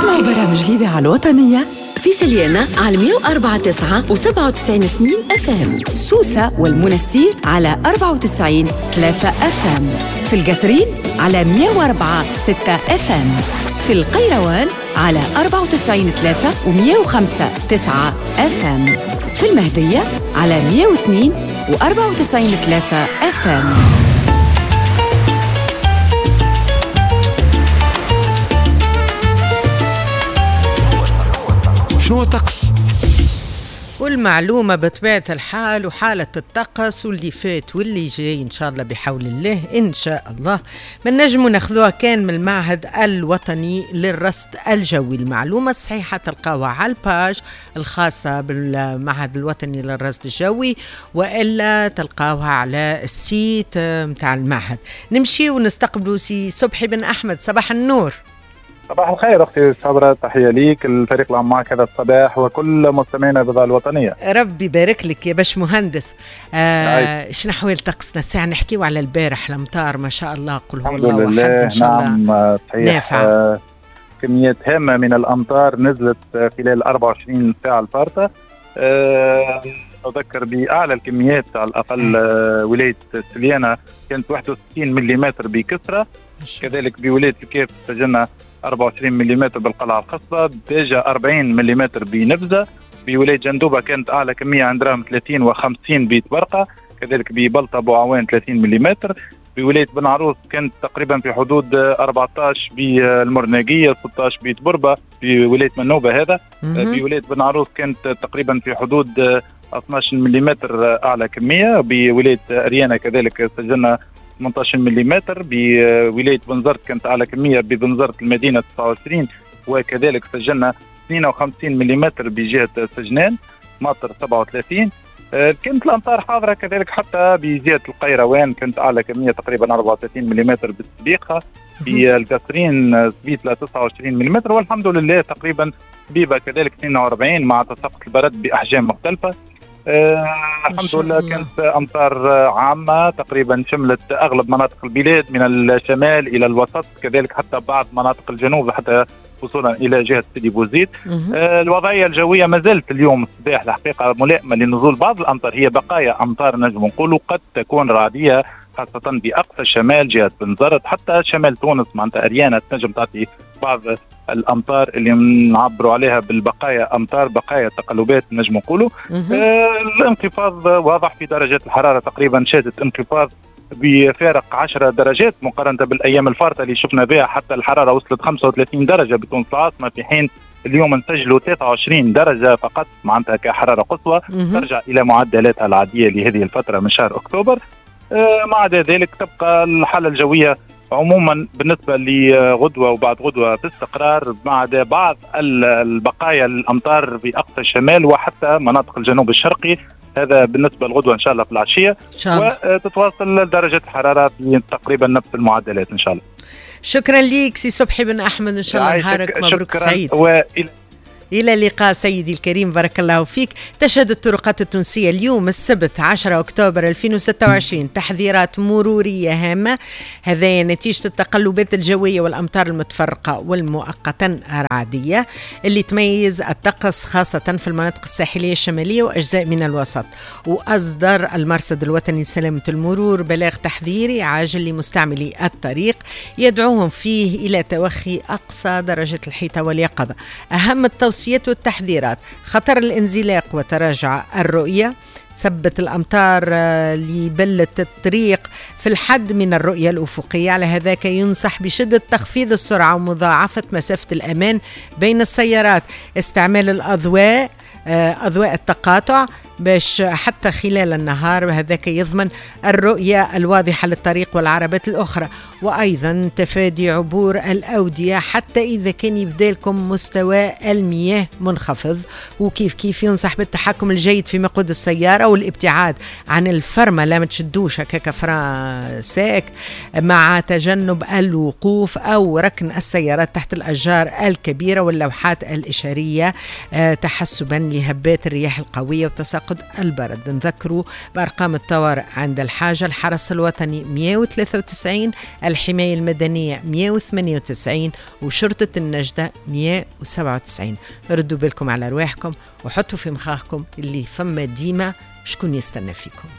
اسمعوا برامج الإذاعة الوطنية في سليانة على 104.9 و97.2 FM، سوسة والمنستير على 94.3 FM، في القصرين على 104.6 FM، في القيروان على 94.3 و105.9 FM، في المهدية على 102 و94.3 FM. شنو الطقس؟ والمعلومة بطبيعة الحال وحالة الطقس واللي فات واللي جاي إن شاء الله بحول الله، إن شاء الله ما نجموا ناخذوها كان من المعهد الوطني للرصد الجوي. المعلومة الصحيحة تلقاوها على ال page الخاصة بالمعهد الوطني للرصد الجوي، وإلا تلقاوها على ال site متاع المعهد. نمشي ونستقبلوا سي صبحي بن أحمد. صباح النور. صباح الخير أختي صبرا، تحية ليك الفريق اللي معك هذا الصباح وكل مستمعينا بالإذاعة الوطنية. ربي يبارك لك يا باش مهندس. شنو أحوال طقسنا الساعة؟ نحكيو على البارح الأمطار ما شاء الله، قل هو الله أحد، إن شاء الله. نعم صحيح، كميات هامة من الأمطار نزلت خلال 24 ساعة الفارطة. أذكر بأعلى الكميات على الأقل ولاية سليانة كانت 61 ملم بكثرة، كذلك بولاية الكاف سجلنا 24 ملم بالقلعة الخصبة، ديجا 40 ملم بنبزة، بولاية جندوبة كانت أعلى كمية عند رام 30 و50 بتبرقة، كذلك ببلطة بوعوان 30 ملم، بولاية بن عروس كانت تقريبا في حدود 14 بالمرناقية، 16 بتبربة بولاية منوبة، هذا بولاية بن عروس كانت تقريبا في حدود 12 ملم أعلى كمية، بولاية أريانا كذلك سجلنا 18 ملم، بولاية بنزرت كانت أعلى كمية ببنزرت المدينة 29، وكذلك سجلنا 52 ملم بجهة سجنان ماطر 37. كانت الأمطار حاضرة كذلك حتى بجهة القيروان كانت أعلى كمية تقريبا 34 ملم بالسبيخة، بالقصرين سبيتلا 29 ملم، والحمد لله تقريبا بيبة كذلك 42 مع تساقط البرد بأحجام مختلفة. الحمد لله كانت أمطار عامة تقريبا شملت أغلب مناطق البلاد من الشمال إلى الوسط، كذلك حتى بعض مناطق الجنوب حتى وصولا إلى جهة سيدي بوزيد. الوضعية الجوية ما زالت اليوم الصباح الحقيقة ملائمة لنزول بعض الأمطار، هي بقايا أمطار نجم نقولوا قد تكون رعدية خاصة بأقصى الشمال جهة بنزرت حتى شمال تونس معناتها أريانا تنجم تعطي بعض الأمطار اللي نعبروا عليها بالبقايا أمطار، بقايا تقلبات نجم نقولوا. الانخفاض واضح في درجات الحرارة، تقريبا شهدت انخفاض بفارق 10 درجات مقارنة بالأيام الفارطة اللي شفنا بها، حتى الحرارة وصلت 35 درجة بتونس العاصمة، في حين اليوم نسجلوا 23 درجة فقط معناتها كحرارة قصوى، ترجع إلى معدلاتها العادية لهذه الفترة من شهر أكتوبر. ما عدا ذلك تبقى الحالة الجوية عموما بالنسبة لغدوة وبعد غدوة باستقرار، ما عدا بعض البقايا الأمطار في أقصى الشمال وحتى مناطق الجنوب الشرقي. هذا بالنسبة لغدوة إن شاء الله في العشية، وتتواصل درجة الحرارة تقريبا نفس المعدلات إن شاء الله. شكرا لك سي صبحي بن أحمد، إن شاء الله نهارك مبروك سعيد. إلى اللقاء سيدي الكريم، بارك الله فيك. تشهد الطرقات التونسية اليوم السبت 10 أكتوبر 2026 تحذيرات مرورية هامة، هذا نتيجة التقلبات الجوية والأمطار المتفرقة والمؤقتة الرعدية اللي تميز الطقس خاصة في المناطق الساحلية الشمالية وأجزاء من الوسط. وأصدر المرصد الوطني لسلامة المرور بلاغ تحذيري عاجل لمستعملي الطريق يدعوهم فيه إلى توخي أقصى درجة الحيطة واليقظة. أهم التوصيات والتحذيرات: خطر الانزلاق وتراجع الرؤية، تثبت الأمطار اللي بلت الطريق في الحد من الرؤية الأفقية، على هذاك ينصح بشدة تخفيض السرعة ومضاعفة مسافة الأمان بين السيارات، استعمال الأضواء، أضواء التقاطع باش حتى خلال النهار، وهذاك يضمن الرؤية الواضحة للطريق والعربات الأخرى، وأيضا تفادي عبور الأودية حتى إذا كان يبدالكم مستوى المياه منخفض. وكيف كيف ينصح بالتحكم الجيد في مقود السيارة والابتعاد عن الفرمة، لا ما تشدوش هكاك frein sec، مع تجنب الوقوف أو ركن السيارات تحت الأشجار الكبيرة واللوحات الإشارية تحسبا لهبات الرياح القوية وتساقط تفاقد البرد. نذكروا بأرقام الطوارئ عند الحاجة: الحرس الوطني 193، الحماية المدنية 198، وشرطة النجدة 197. ردوا بالكم على أرواحكم وحطوا في مخاخكم اللي فما ديما شكون يستنى فيكم.